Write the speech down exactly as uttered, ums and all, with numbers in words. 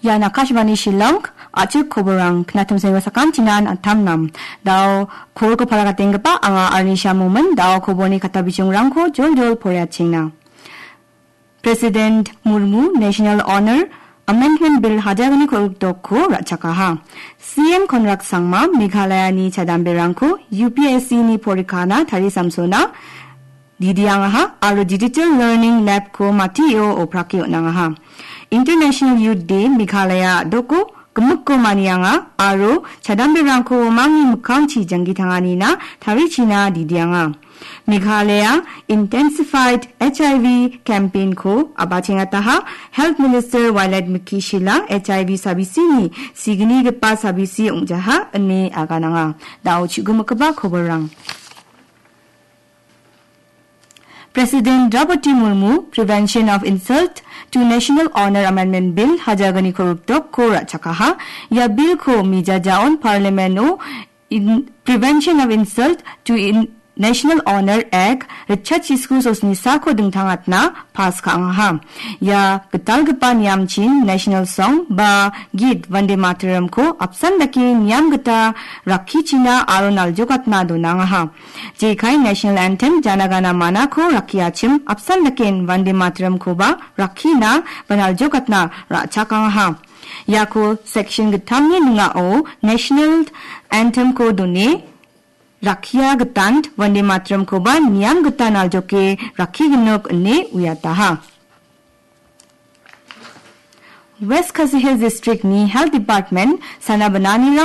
Ian Akashvani Shillong, a·chik koborang, knatim sengo sakantinan antam nam. Dao, kolko palakatenggipa anga Arnisha Momin, dao koborni kata bijingrangko jol-jol poraiatengna. President Murmu National Honor Amendment Bill hajar gni kolgrikdokko ra·chakaha. C M Conrad Sangma Meghalayani chadamberangko U P S C ni porikana tarisamsona didiangaha aro Digital Learning Lab-ko matio oprake on·angaha. International Youth Day Meghalaya a·doko gimikko manianga aro chadamberangko mangni mikkangchi janggi tanganina tarichina didianga. Meghalaya Intensified H I V Campaign-ko a·bachengataha, Health Minister Wailadmiki Shylla H I V sabisini signigipa sabisi ong·jaha ine agananga. Dao chu·gimikiba koborrang. President Draupadi Murmu Prevention of Insult to National Honor Amendment Bill hajar gni kolgrikdokko ra·chakaha. Ia bill-ko mijajaon Parliament-o in Prevention of Insult to in National Honor Act ritchatchisku sosnisako dingtangatna pass ka·angaha. Ia gitalgipa niamchin National Song ba git Vande Mataram-ko apsan dake niam gita rakkichina aro naljokatna donangaha. Jekai National Anthem Jana Gana Mana-ko rakkiachim apsan daken Vande Mataram-koba rakkina ba naljokatna ra·chakangaha. Iako section gittamni ning·ao National Anthem-ko done rakkia gitant Vande Mataram-koba niam gita naljoke rakkiginok ine uiataha. West Khasi Hills District-ni Health Department sana bananirang